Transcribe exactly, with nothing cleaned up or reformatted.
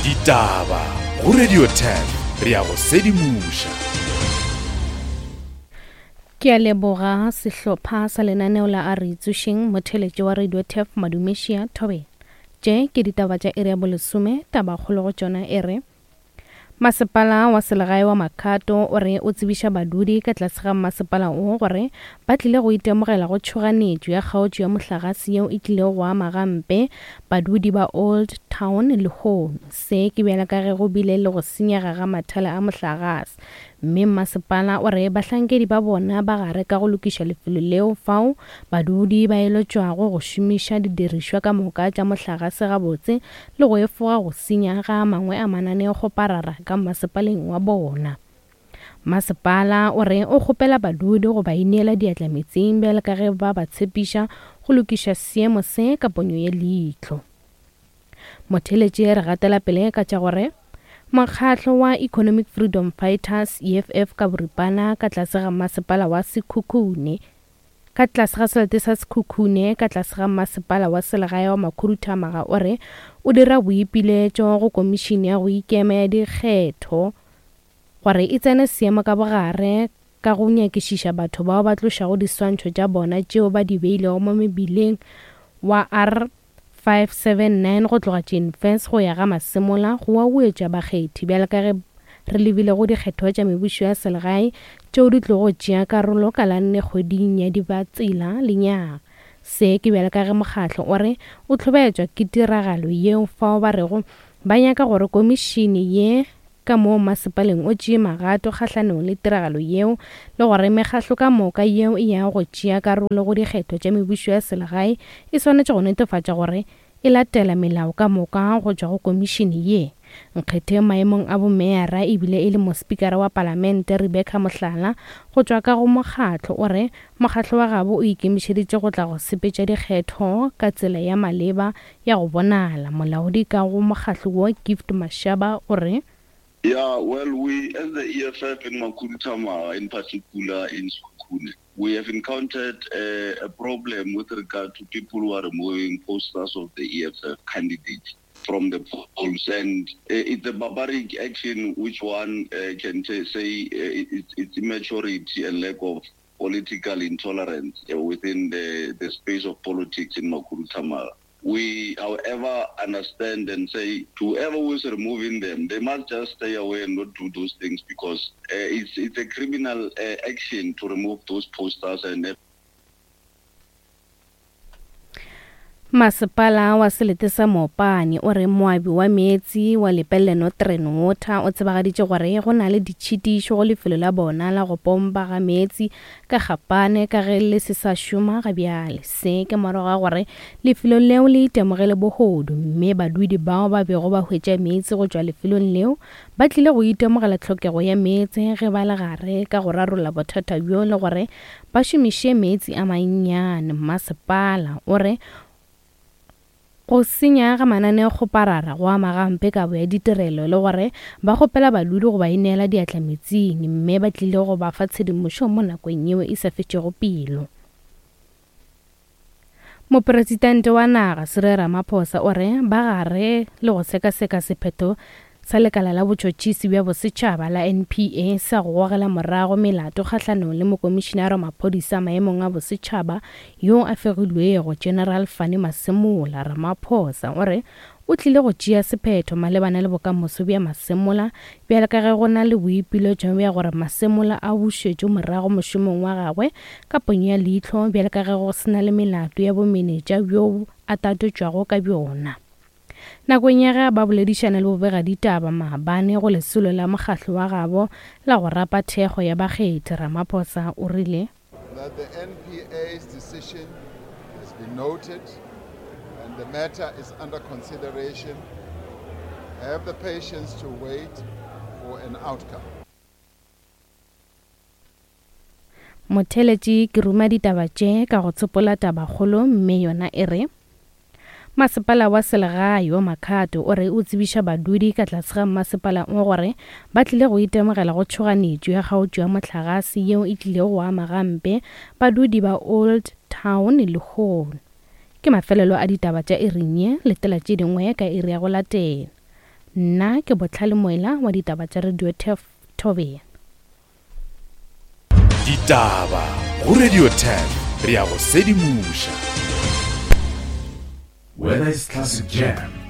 Ditaba go Radio ten re ya go sedimoša. Ke a leboga sehlopha sa lenaneo la a re tsošeng motheletši wa Radio T F Madumešia Thobela. Tše ke ditaba tša iri ya bolesome, tabakgolo go tšona e re Masepala wa selegae wa Makhado o re o tsebiša badudi ka tlase ga masepala o gore ba tlile go itemogela go tšhoganetšo ya kgaotšo ya mohlagase yeo e tlilego go ama gampe badudi ba Old Town lehono. Se ke bjala ka ge go bile le go senyega ga mathala a mohlagase, mme masepala o re bahlankedi ba bona ba gare ka go lokiša lefelo leo fao badudi ba eletšwago go šomiša didirišwa ka moka tša mohlagase gabotse le go efoga go senya ga mangwe a mananeokgoparara ka masepaleng wa bona. Masepala o re o kgopela badudi go ba ineela diatla metseng bjalo ka ge ba ba tshepiša go lokiša seemo se ka ponyo ye leihlo. Motheletši re gatela pele ka tša gore Mokgatlo wa Economic Freedom Fighters E F F ka boripana ka tlase ga masepala wa Sekhukhune ka tlase ga selete sa Sekhukhune ka tlase ga masepala wa selegae wa Makhuduthamaga o re o dira boipiletšo go komišene ya go ikema ya dikgetho gore e tsene seemo ka bogare ka go nyakišiša batho bao ba tlošago diswantšho tša bona tšeo ba di beilego mo mebileng wa R five seven nine go tloga Jane Furse go ya ga Masemola go huetša bakgethi bjalo ka ge re lebile go dikgetho tša mebušo ya selegae tšeo di tlogo tšea karolo ka la nne kgweding ya Dibatsela lenyaga. Se ke bjalo ka ge mokgatlo o re o hlobaetšwa ke tiragalo yeo fao ba rego ba nyaka gore komišene ye ka moo masepaleng o tšee magato kgahlanong le tiragalo yeo le gore mekgatlo ka moka yeo e yago go tšea karolo go dikgetho tša mebušo ya selegae e swanetše go netefatša gore e latela melao ka moka go tšwa go komišene ye. Nkgetheng maemong a bomeyara ebile e le mospikara wa palamente Rebecca Mohlala go tšwa ka go mokgatlo o re mokgatlo wa gabo o ikemišeditše go tla go sepetša dikgetho ka tsela ya maleba ya go bonala. Molaodi ka go mokgatlo wo Gift Mashaba o re Yeah, well, we as the E F F in Makhuduthamaga, in particular in Sekhukhune, we have encountered a, a problem with regard to people who are removing posters of the E F F candidates from the polls. And uh, it's a barbaric action which one uh, can t- say uh, it's, it's immaturity and lack of political intolerance uh, within the, the space of politics in Makhuduthamaga. We, however, understand and say to whoever who is removing them, they must just stay away and not do those things because uh, it's, it's a criminal uh, action to remove those posters and Masepala wa selete sa Mopani o re moabi wa meetse wa Lepelle Northern Water o tsebagaditše gore go na le ditšhitišo go lefelo la bona la go pompa ga meetse ka Gapane ka ge le se sa šoma ga bjale. Se ke morago ga gore lefelo leo le itemogele bohodu, mme badudi bao ba bego ba hwetša meetse go tšwa lefelong leo ba tlile go itemogela tlhokego ya meetse ge ba le gare ka go rarolla bothata bjo le gore ba šomiše meetse a mannyane. Masepala o re go senya ga mananeokgoparara go ama gampe kabo ya ditirelo le gore ba kgopela badudi go ba ineela diatla metsing, mme ba tlile go ba fa tshedimošo mo nakong yeo e sa fetšego pelo. Mopresidente wa naga Cyril Ramaphosa o re ba gare le go sekaseka sephetho sa lekala la botšhotšhisi bja bosetšhaba la N P A sa go gogela morago melato kgahlanong le mokomišenare wa maphodisa maemong a bosetšhaba yo a fegilwego General Fannie Masemola. Ramaphosa o re o tlile go tšea sephetho malebana le bokamoso bja Masemola bjalo ka ge go na le boipiletšo bja gore Masemola a bušetšwe morago mošomong wa gagwe ka ponyo ya leihlo bjalo ka ge go se na le melato ya bomenetša bjo a tatotšwago ka bjona. Nakong ya ge ba boledišana le bobegaditaba maabane go lesolo la mokgatlo wa gabo la go rapa thekgo ya bakgethi, Ramaphosa o rile that the N P A's decision has been noted and the matter is under consideration. Have the patience to wait for an outcome. Motheletši ke ruma ditaba tše ka go tsopola tabakgolo, mme yona e re Masepala wa selegae wa Makhado o re o tsebiša badudi ka tlase ga masepala o gore ba tlile go itemogela go tšhoganetšo ya kgaotšo ya mohlagase yeo e tlilego go ama gampe badudi ba Old Town lehono. Ke mafelelo a ditaba tša iring ye, letela tše dingwe ka iri ya go latela. Nna ke Botlhale Moela wa ditaba tša Radio Turf Thobela. Ditaba go Radio Turf, re ya go sedimoša. Whether it's classic jam